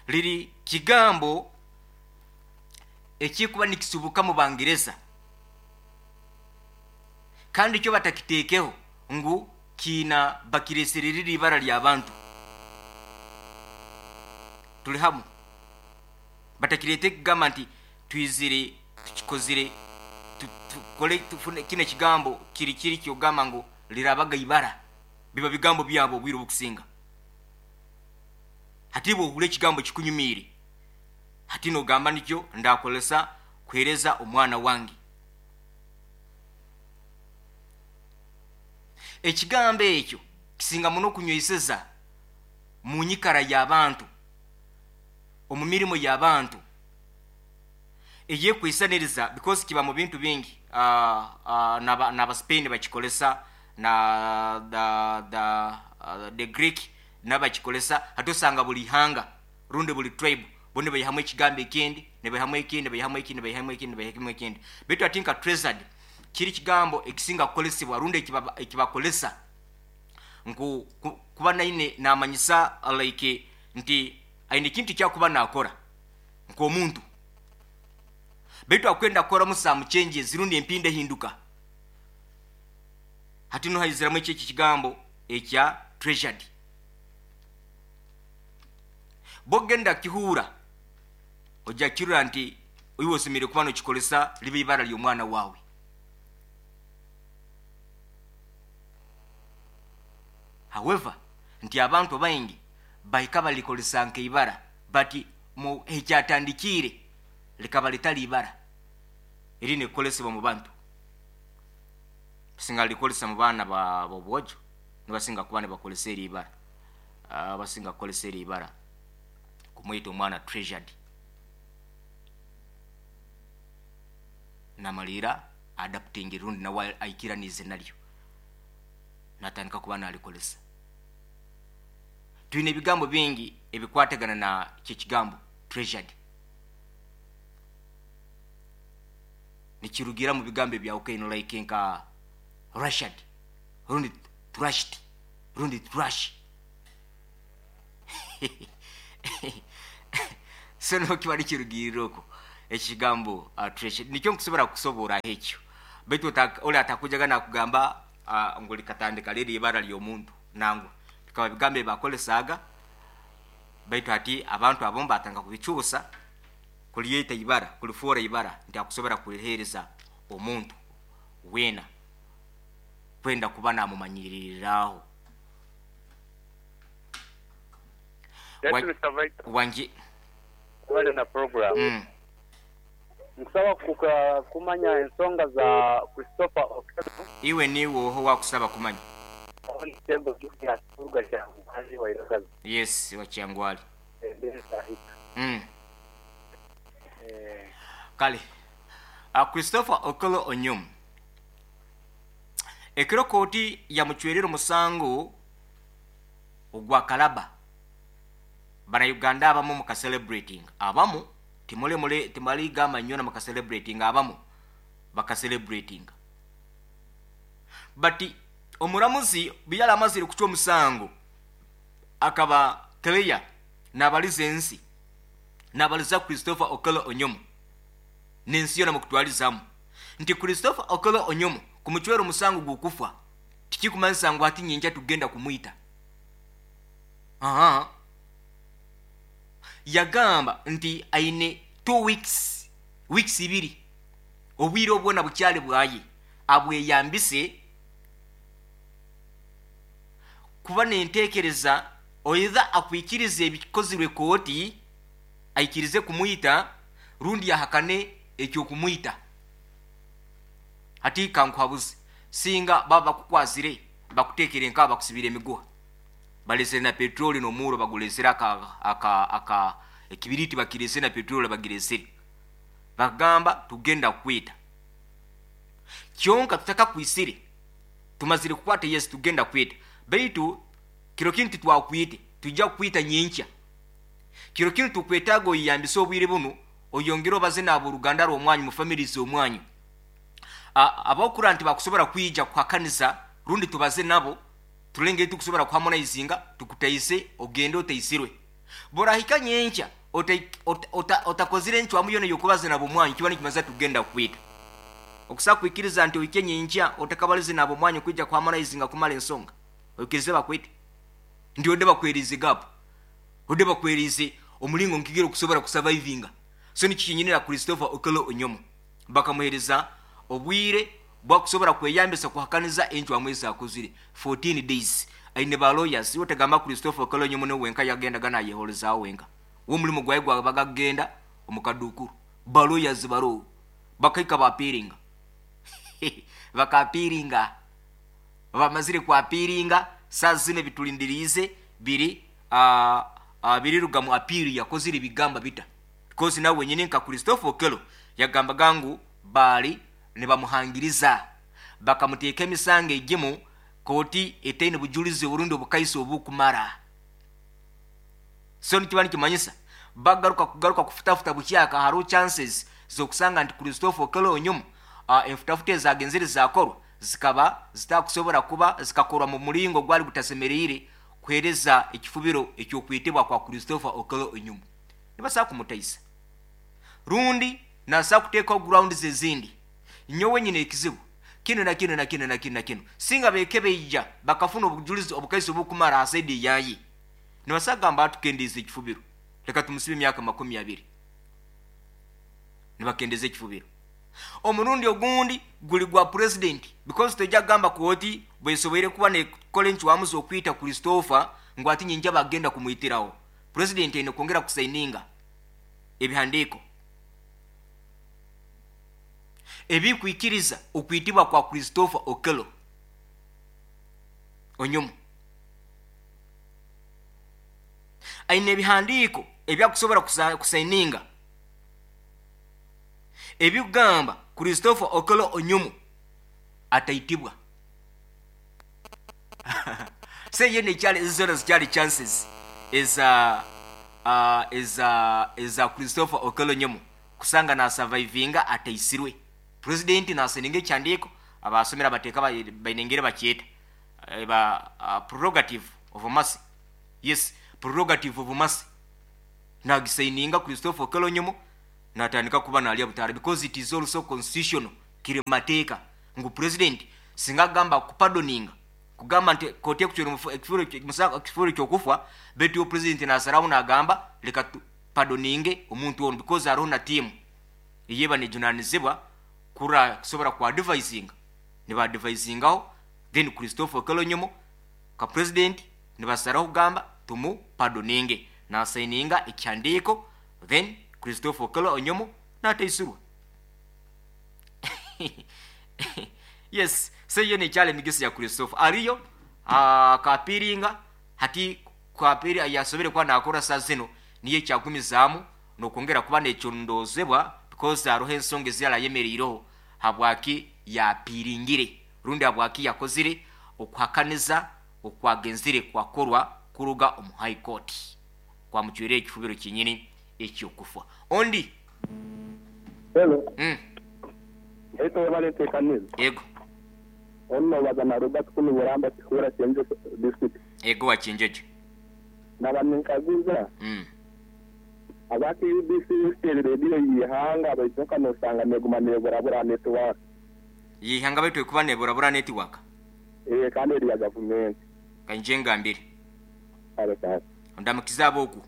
Liri kigambo ekikuba nikisibuka mu Bangereza kandi kyo batakiteekeho ngu kiina bakiresere riri ibara ly'abantu. Tuli hamu. Batakireete kugamba nti twizire tukikozire tukole tufune kino ekigambo kiri kiri kyogamba ngu lirabaga ibara. Biba bigambo byabo obwire obukusinga. Hati bw'ohurra ekigambo kikunyumiire, hati nogamba nikyo ndakolesa kuheereza omwana wange. Ekigambo ekyo kisinga muno kunyweseza mu nyikara y'abantu, omu mirimo y'abantu eyekwisaniriza, because kiba mu bintu bingi. N'aba Spain bakikolesa, na the Greek nabakikolesa. Hati osanga buli ihanga rundi buli tribe bone baihamu ekigambo ekindi, nibaihamu ekindi, baihamu ekindi, baihamu ekindi, baihamu ekindi. Baitu ati nka Treasured kiri kigambo ekisinga kukolesebwa rundi ekibakolesa nku kuba naine namanyisa like nti aine ekintu kyakuba nakora nk'omuntu, baitu akwenda kukoramu some changes rundi empinda ehinduka. Hati no haiziramu eki ekigambo ekya Treasured. Bwogenda kihuura ojja kirora nti iwe osemeriire kuba nokikolesa libe ibara ly'omwana waawe. However, nti abantu baingi bahika balikolesa nk'ibara, but mu ekyatandikiire likaba litali ibara eri nikukolesebwa mu bantu. Basinga likolesa mu baana b'obwojo, nibasinga kuba nibakolesa eri ibara. Basinga kukolesa eri ibara kumwita omwana Treasured. Namaliira adapting rundi nawe aikiranize naryo, natandika kuba nalikolesa. Twine ebigambo bingi ebikwatagana na kyekigambo Treasured. Nikirugira mu bigambo ebyawukaine like nka Rashad rundi trashed rundi trash. So niho kiba nikirugirira okwo ekigambo treasure nikyo nkusobora kusoboraho ekyo, baitu oli atakujaga nakugamba ngu likatandika liri ibara ly'omuntu. Nangwa bikaba bigambo ebi bakolesaga, baitu hati abantu abamu batandika kubicuusa kulyeta ibara, kulifoora ibara nti akusobora kuliheereza omuntu weena kwenda kuba namumanyiririraho. Yes, Mr. Vital. Wangi. Webale na program. Nkusaba kumanya ensonga za Christopher Okello. Iwe niiwe oha owakusaba kumanya? Owo ni Thembo Julius kuruga Kyangwali Wairagazi. Yes, wa Kyangwali. Ndi Sahita. Kale. Christopher Okello Onyum. Ekiro kooti yamucwerire omusango ogwa Kalaba. Bannayuganda abamu muka celebrating, abamu timule mule timaligamba nnyo muka celebrating, abamu baka celebrating. But omuramuzi bwe yali amazire kucwa omusango akaba clear nabaliza ensi, nabaliza Christopher Okello Onyum n'ensi yona mukutwalizamu nti Christopher Okello Onyum kumucwera omusango gw'okufa tikikumanyisa ngu hati nyenkya tugenda kumwita. Aha. Yagamba nti aine 2 weeks, weeks ibiri, obwire obwona bukyali bwaye abweyambise kuba nentekereza oidha akwikirize ebikozirwe kooti, aikirize kumwita rundi ahakane ekyokumwita. Hati kankuhabuze, singa baba bakukwasire bakutekere nka bakusibira emiguha, balesere na petroli n'omuro bagulesere aka ekibiriti bakirese na petroli bagiresere, bagamba tugenda kwita kyonka tutakakwisire, tumazire kukwata Yesu tugenda kwita, baitu kiro kinu titwakwite, tujja kukwita nyenkya. Kiro kinu tukwetaaga oyeyambise obwire bunu oyongere obaze n'aboruganda rw'omwanyu mu families omwanyu. Abokura nti bakusobora kwija kuhakanisa rundi tubaze nabo tulenge tukusobora kuharmonizinga tukutaise ogende otaisirwe. Borahika nyenkya otakozire encwamu yona yokubaza nabo mwanyu kiba nikimaza tugenda kwita. Okusa kwikiriza nti ohike nyenkya otakabalize nabo mwanyu kwija kuharmonizinga kumala ensonga, oikirize bakwite. Nti ode bakwerize gap, ode bakwerize omulingo nkigere okusobora kusurvivinga. So nikikinyinira Christopher Okello Onyum bakamuhereza obwire bwakusobora kweyambisa kuhakaniza encwamu ezakozire 14 days. Aine ba lawyers otegamba Christopher Okello Onyum ne wenka yagendaga nayeholezaawo wenka, wo omulimu gwaye gwabaga kugenda omukadukuru, ba lawyers baro bakaika bapiringa bakapiringa, bamazire kwapiringa saa zino bitulindiriize biri biriruga mu appeal yakozire bigamba bita, because nawe wenyini nka Christopher Okello yagambaga ngu baali nibamuhangiriza bakamuteeka emisango egimu kooti etaine bujulizi oburundi obukaisa obukumara. So nikiba nikimanyisa bagaruka kugaruka kufutafuta bukyaka, hariho chances zokusanga nti Christopher Okello Onyum enfutafuta ezagenzere zakorwa zikaba zitakusobora kuba zikakorwa mu mulingo gwali gutasemereire kuhereza ekifubiro ekyokwitibwa kwa Christopher Okello Onyum. Nibasa kumutaisa rundi nasa kuteekaho grounds ezindi, nyowe nyine ekizibu kino na kino na kino na kino na kino. Singa bekebeija bakafuna obujulizi obukaisa obukumara ha side yaye, nibasagamba atukendeeza ekifubiro, leka tumusibe emyaka 20, nibakendeza ekifubiro. Omurundi ogundi guli gwa president, because tojja kugamba kooti bwesoboire kuba nekola encwamu z'okwita Christopher ngu ati nyinja bagenda kumwitiraho. President aine kwongera kusaininga ebihandiiko ebikwikiriza okwitibwa kwa Christopher Okello Onyum. Aine ebihandiiko ebyakusobora kusaininga ebigamba Christopher Okello Onyum ataitibwa. Se yene ekyali zona zikyali chances eza Christopher Okello Onyum kusanga na survivinga ataisirwe. President nasaininga ekyandiiko, abasomera abateeka bainengere bakyeta ba prerogative of mercy. Yes, prerogative of mercy. Nagisigninga Christopher Okello Onyum natandika kuba nalya butaara, because it is also constitutional, kiri mateeka ngu president singa agamba kupardoninga, kugamba nti kooti ekucwera ekifuro ky'okufa, baitu president nasaraho nagamba leka pardoninge omuntu ono, because hariho na team eyeba nejunanizibwa kura kusobora ku advisinga, niba advisingaho. Then Christopher Okello Onyum ka president nibasaraho kugamba tumu pardoninge, nasigninga ekihandiiko, then Christopher Okello Onyum nataisurwa. Yes, so iyo nekyali emigisa ya Christopher ariyo akapiringa hati kwapiri yasobere kuba nakora saa zino, niyo ekyagumizaamu nokwongera kuba nekyondozebwa, because hariho ensonga eziyarayemereireho habwaki yapiringire rundi habwaki yakozire okuhakaniza okwagenzire kwakorwa kuruga omu high court kwamucwire ekifubiro kinyini ekyokufa. Ondi. Hello. Eito webale ntekanize. Ego. Ono baza na Robert kunu Buramba Kihura Kyenjojo district. Ego wa Kyenjojo. Naba ninkaguza. Aba KUBC Western Radio yihanga baitu nka nosanga neguma neburabura network. Yihanga baitu ekuba neburabura network. Kandi eri ya gavumenti. Kanje ngambire. Kale kale. Ndamukiza aboku.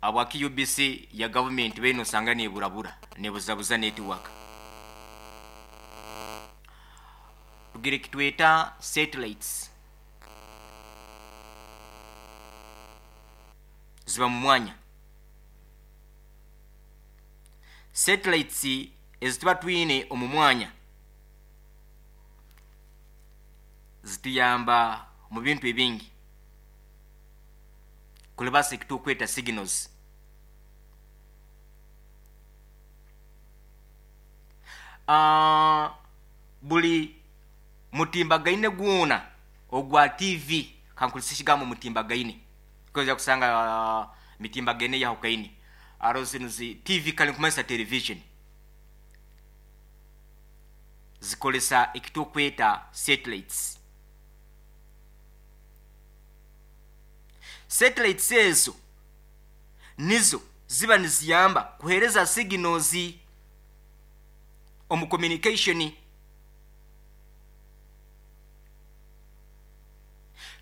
Abwa KUBC ya government beno sanga neburabura nebuzabuza network. Tugire kitweta satellites. Ziba mu mwanya. Satellites ezituba twine omu mwanya zituyamba mu bintu ebingi. Kulibasa ekitukweta signals. Buli mutimbagaine gwona ogwa TV kankulisa ekigambo mutimbagaine because yakusanga mitimbagaine yahukaine aro zino zi TV kale nkumanyisa television zikolesa ekitukweta satellites. Satellites ezo nizo ziba niziyamba kuhereza signals omu communication.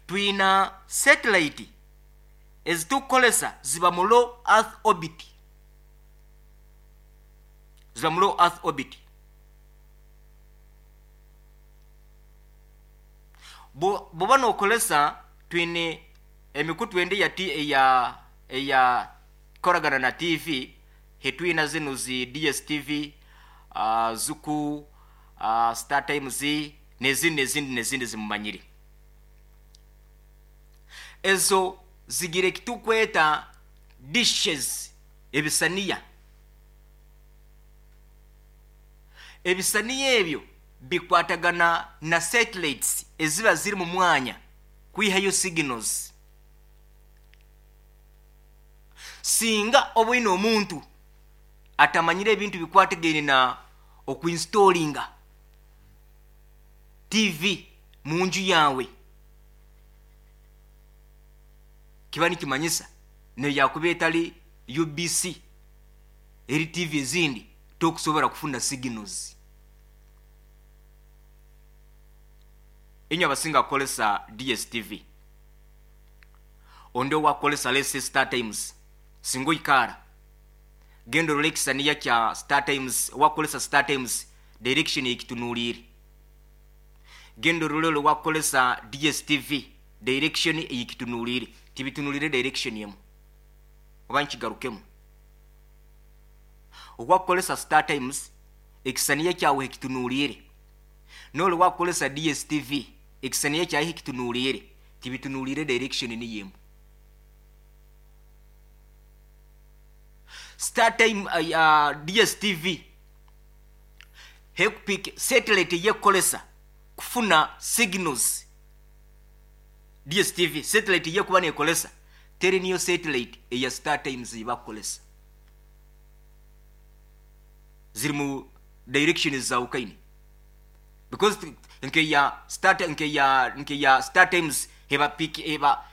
Twina satellite ezitukolesa ziba mu low earth orbit. Ziba mu low earth orbit. Bwoba nokolesa twine emikutu endi ya eya koragana na TV, hetwina zino zi DSTV, Zuku, Star Times, nezindi nezindi nezindi zimumanyire. Ezo zigire kitukweta dishes, ebisaniya. Ebisaniya ebyo bikwatagana na satellites eziba ziri mu mwanya kwihayo signals. Singa obwine omuntu atamanyire ebintu bikwatagene na okuinstallinga TV mu nju yawe, kiba nikimanyisa neyakuba etali UBC eri TV ezindi tokusobora kufuna signals. Enyo abasinga kukolesa DSTV, ondo wakolesa lese Star Times, singo ikara gendo rolekisa niya kya Star Times, wakolesa Star Times direction ekitunulire, gendo rolelo wakolesa DSTV direction ekitunulire, tibitunulire direction yemu oba nkigarukemu. Wakolesa Star Times ekisaniya kyawe ekitunulire, nolo wakolesa DSTV ekisaniya kyawe ekitunulire, tibitunulire direction ni yemu. Star Time DSTV hekupik satellite yekolesa kufuna signals. DSTV satellite yekuba nekolesa teri niyo satellite eya Star Times ibakolesa, ziri mu direction za ukaini, because nke ya Star nke ya Star Times heba pick heba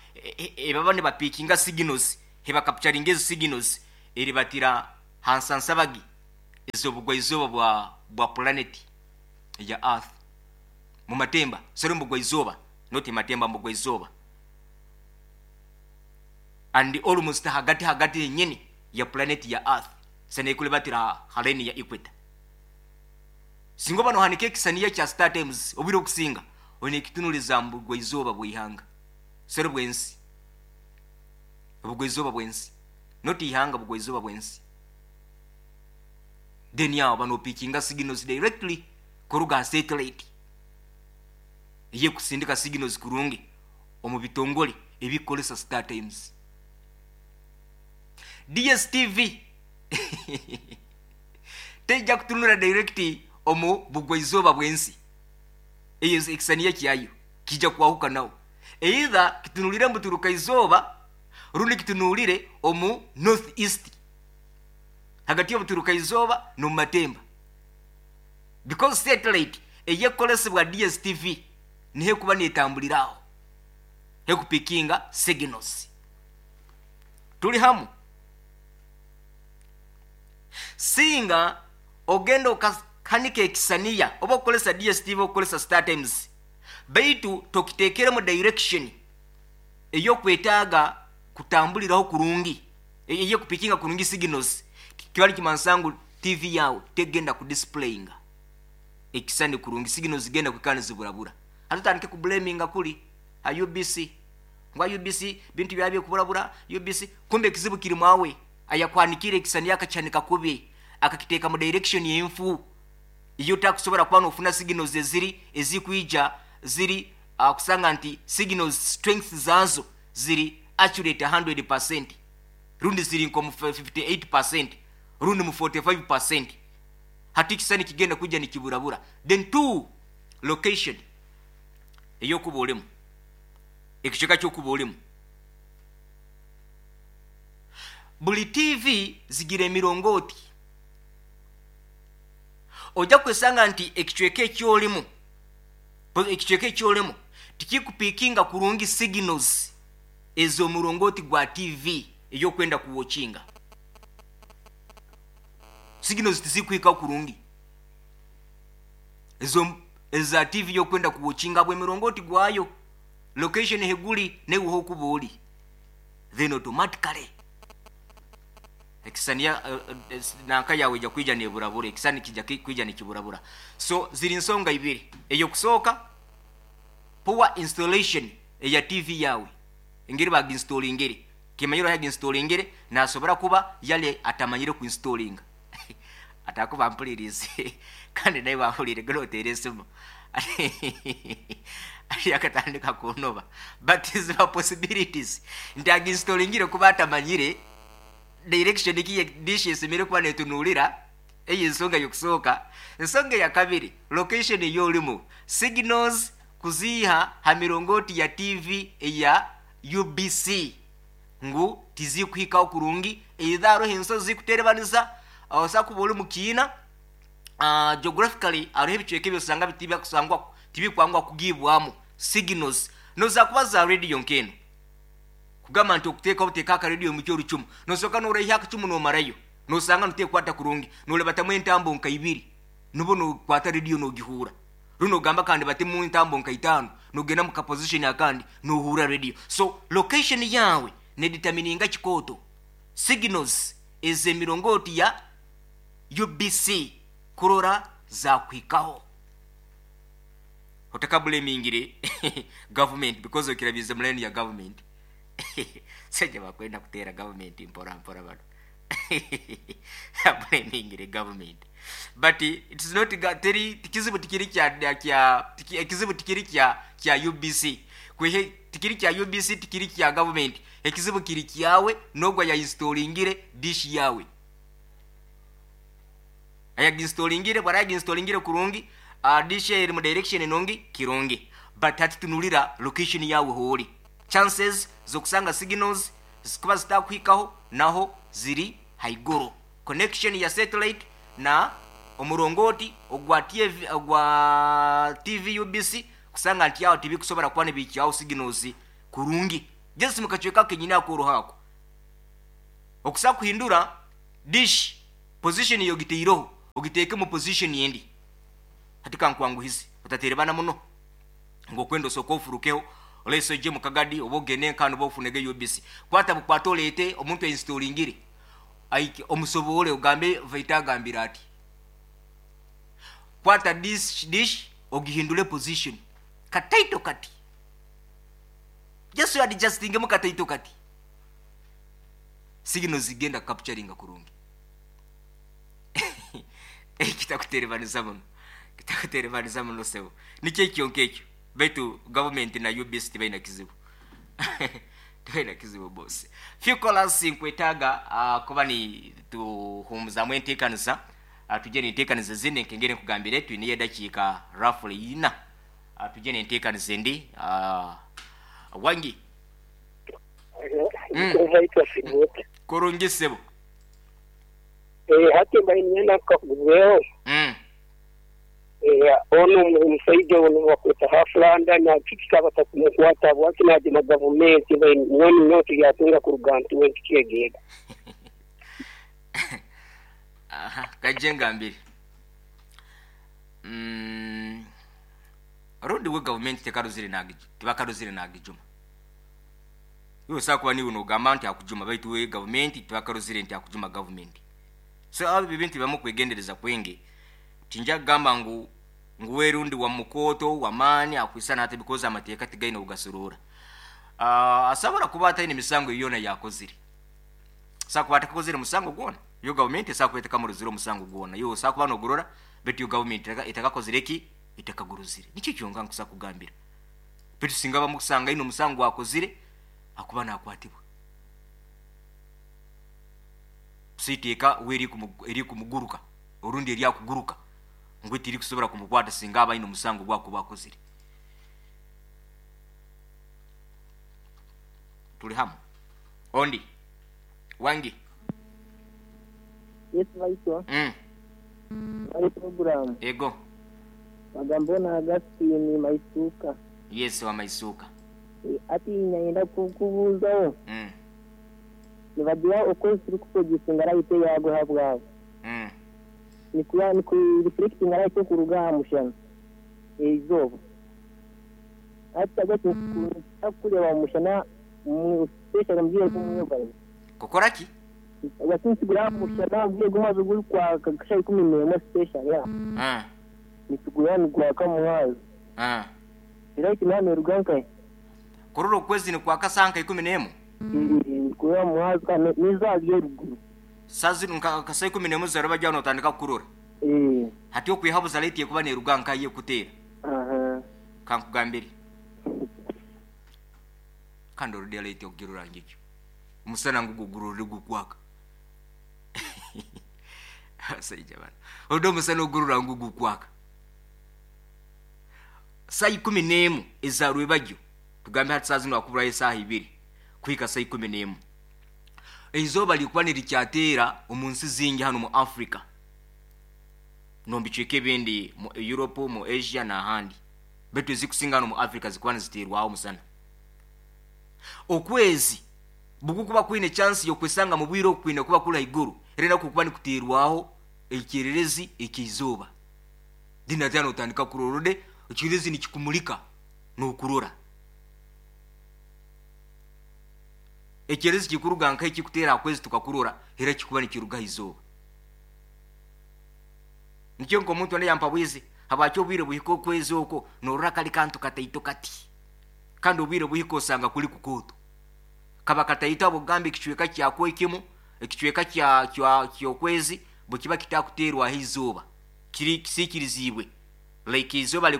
Ebaba nibapikinga signals, hebakapcharinga ezo signals eribatira hansansabagi ez'obugwaizooba bwa planet ya earth mu matemba, sorry, mu bugwaizooba, not matemba, mu bugwaizooba, and almost hagati hagati henyini ya planet ya earth, sanekulibatira ha line ya equator. Singa oba nohanika ekisaniya kya Star Times, obwire okusinga oine ekitunuliza mu bugwaizooba bw'ihanga, sorry, bw'ensi, obugwaizooba bw'ensi, not ihanga, bugwaizooba bw'ensi. Then awo banopikinga signals directly kuruga ha satellite eyekusindika signals kurungi omu bitongole ebikolesa Star Times. DStv tejja kutunula direct omu bugwaizooba bw'ensi. Eyo ekisaniya kyayo kijja kwahukanaho, either kitunulire mu buturuka izooba rundi kitunulire omu north east, hagati y'obuturuka izooba n'omu matemba, because satellite eyekolesebwa DStv niho ekuba netambuliraho hekupikinga signals. Tuli hamu? Singa ogenda okahanika ekisaniya oba okukolesa DStv, okukolesa Star Times, baitu tokitekeremu direction eyokwetaaga kutambuliraho kurungi, eyekupikinga kurungi signals, kiba nikimansa ngu TV yawe tegenda kudisplayinga ekisani kurungi, signals zigenda kwikara niziburabura. Hatutandike kublaminga kuli ha UBC, ngwa UBC bintu byabye kuburabura UBC, kumbe ekizibu kiri mwawe ayakwanikire ekisani, akakihanika kubi, akakiteeka mu direction yenfu iyo takusobora kuba nofuna signals eziri ezikwija ziri kusanga nti signals strength zazo ziri accurate 100%, rundi ziri nko mu 58%, rundi mu 45%. Hati ekisani kigenda kujja nikiburabura. Then two, location eyokuba olimu, ekicweka kyokuba olimu. Buli TV zigira emirongooti. Ojja kwesanga nti ekicweka ekyolimu tikikupikinga kurungi signals ez'omurongoti gwa TV eyokwenda kuwokinga. Signals tizikuhikaho kurungi ezo eza TV yokwenda kuwokinga, bw'emirongoti gwayo, location heguli neweho okuba oli. Then automatically ekisaniya nanka yawe ejja kwija neburabura, ekisani kijja kwija nikiburabura. So ziri nsonga ibiri. Eyokusooka, poor installation eya TV yawe, engeri baginstallingire. Kimanyiro yaginstallingire nasobora kuba yali atamanyire kuinstallinga, atakuba mpulirize kandi naye wahulire ganoteera esimu ati akatandika kunoba, but ziba possibilities nti aginstallingire kuba atamanyire direction ki dish esemere kuba netunulira. Eyo ensonga yokusooka. Ensonga ya kabiri, location eyolimu, signals kuziiha ha mirongoti ya TV eya UBC ngu tizikuhikaho kurungi. Either hariho ensozi zikuterebaniza, osa kuba oli mukiina, geographically hariho ebicweka ebyosanga bitibakusangwa, tibikwangwa kugibwamu signals noza kuba za radio nkeno. Kugamba nti okuteeka obuteeka akarediyo mu kyorucumu, nosooka noraiha akacumu nomarayo, nosanga nutekwata kurungi, nolebatamu entambo nka ibiri nubo nokwata rediyo nogihuura. Runo ogamba kandi batemu entambo nka itaano, nogenda mu kaposition akandi nohuura rediyo. So location yawe nedetermininga kikooto signals ez'emirongoti ya UBC kurora zakuhikaho. Otakablamingire government, because okirabize mu line ya government, sajja bakwenda kuteera government mpora mpora, bano blamingire government, but it's not teri kizibu tikiri kya ekizibu tikiri kya UBC kwehe, tikiri kya UBC, tikiri kya government. Ekizibu kiri kyawe nogwa ya installingire dish yawe. Ayaginstallingire bwara yaginstallingire kurungi, dish eri mu direction nungi kirungi, but hati tunulira location yawe hori, chances zokusanga signals zikuba zitakuhikaho naho ziri haiguru. Connection ya satellite na omurongoti ogwa TV, ogwa TV UBC, kusanga nti awo tibikusobola kuba nibikyawo signals kurungi. Just mu kacweka kenyini akoroho ako okusa kuhindura dish position yogiteireho ogiteeke mu position endi. Hati kankwanguhize, otaterebana muno ngu okwenda osooke ofurukeho oleese ojje mu Kagadi oba ogende nkanu oba ofunege UBC. Kwata bukwate oleete omuntu ainstallingire aike omusoboore ogambe Vaita agambire ati, kwata dish ogihindule position kataito kati, just adjustingemu kataito kati, signals zigenda capturinga kurungi. Kitakuterebaniza muno, kitakuterebaniza muno sebo. Nikyo ekyo nkekyo, baitu government na UBC tibaina kizibu. Tibaina kizibu boss. Few callers nkwetaaga kuba ni tuhumuzamu enteekaniza, tujye n'enteekaniza ezindi nkengeri nkugambire twineyo edakiika roughly ina. Tujye n'enteekaniza endi. Wangi. Kurungi sebo. Hati mbaire niinyenda nkakuguzeeho. Onu omusaija onu bakweta Haflanda na kiki kikaba batakumukwata habwaki naagema gavumenti mbwenu nyowe turyatunga kuruga ntuwe ntukyegeega. Aha, kaije ngambire. Rundi we gavumenti tekaruzire nagiju, tibakaruzire nagijuma. Iwe osobola kuba niiwe nogamba nti akujuma, baitu we gavumenti tibakaruzire nti akujuma gavumenti. So ebyo ebintu bibamu okwegendereza kwingi. Tinja kugamba ngu we rundi wa mukooto w'amaani akwisana ati because amateeka tigaine obugasorora. Asobora kuba ataine misango yoona yakozire. Asobora kuba atakakozire musango gwona. Yo gavumenti esobola kuba etakamurozire omusango gwona. Iwe osobola kuba nogurora baitu yo gavumenti etakakozire ki? Etakagurozire. Nikyo kyonka nkusobola kugambira. Baitu singa bamusanga aine omusango gwakozire, akuba nakwatibwa. So iteeka we eri kumuguruka orundi eri akuguruka ngu tirikusobora kumukwata singa aba aine omusango gwakuba akozire. Tuli hamu. Ondi wangi. Yes baitwa. Bari program. Ego. Bagamba ona Augustine Maisuka. Yes wa Maisuka. Ati nyenda kukubuuzaho. Nibagira okwezi turi kuproducinga light eyagwe habwabo. Nikuya niku reflecting light okuruga aha mushana eizooba. Ati agati kureeba mushana mu special mu bwire bw'omwebazyo. Kukora ki? Agati nitugura mushana mu bwire bw'omwebazyo guri kwaka nka shaaha 11 special ya. Nitugura nigwaka muhazo. Light nayo neruga nkahi? Kurora okwezi nikwaka saaha nka 11? Kurora muhazo kandi n'eizooba riri eriguru. Saaha zinu nka saa 11 zaraba ryaba notandika kukurora. Hati okwihabuza light ekuba neruga nkahi ekuteera. Kankugambire. Kandi orudi light okugirora ngigyo. Omusana ngugu gurorere gukwaka. Abasajja bano. Orudi omusana ogurora ngugu gukwaka. Saa 11 eza rwebagyo. Tugambe hati saa zinu akuburayo esaaha 2 kuhika saa 11. Eizooba likuba nirikyateera omu nsi zingi hanu mu Africa. N'omu bicweka ebindi mu Europe, mu Asia n'ahandi. Baitu ezikusinga hanu mu Africa zikuba niziteerwaho omusana. Okwezi bukukuba kwine chance y'okwesanga mu bwire okwine kuba kuri haiguru, era nakwo kuba nikuteerwaho ekyererezi eky'eizooba. Then ate notandika kurora ode ekyererezi nikikumulika n'okurora. Ekyererezi kikuruga nka ekikuteera aha kwezi tukakurora, era kikuba nikiruga aha izooba. Nikyo nk'omuntu onde yampa bwizi, habwaki obwire buhika okwezi okwo norora kali kantu kataito kati. Kandi obwire buhika osanga kuli kukooto. Kaba kataito habw'okugamba ekicweka kyakwo ekimu, ekicweka ky'okwezi bwe kiba kitakuteerwaho izooba. Kiri kisiikiriziibwe. Like izooba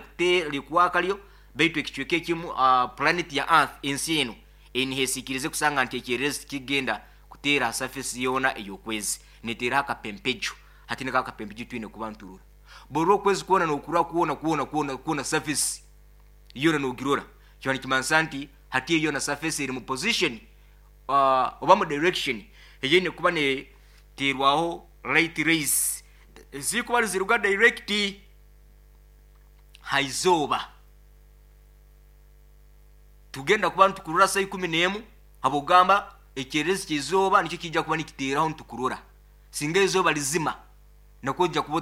likwaka lyo, baitu ekicweka ekimu planet ya Earth ensi eno eniheesiikirize kusanga nti ekyererezi tikigenda kuteera ha surface yoona ey'okwezi. Neteeraho akapempejo. Hati niko akapempejo twine kuba nturora. Borora okwezi kwona nokurora kwona kwona kwona kwona surface yoona nogirora. Kiba nikimanisa nti hati eyo na surface eri mu position oba mu direction eyine kuba neteerwaho light rays ezikuba niziruga direct ha izooba. Tugenda kuba nitukurora saa 11, habwokugamba ekyererezi ky'izooba nikyo kijja kuba nikiteeraho nitukurora. Singa izooba lizima, nakwo ojja kuba.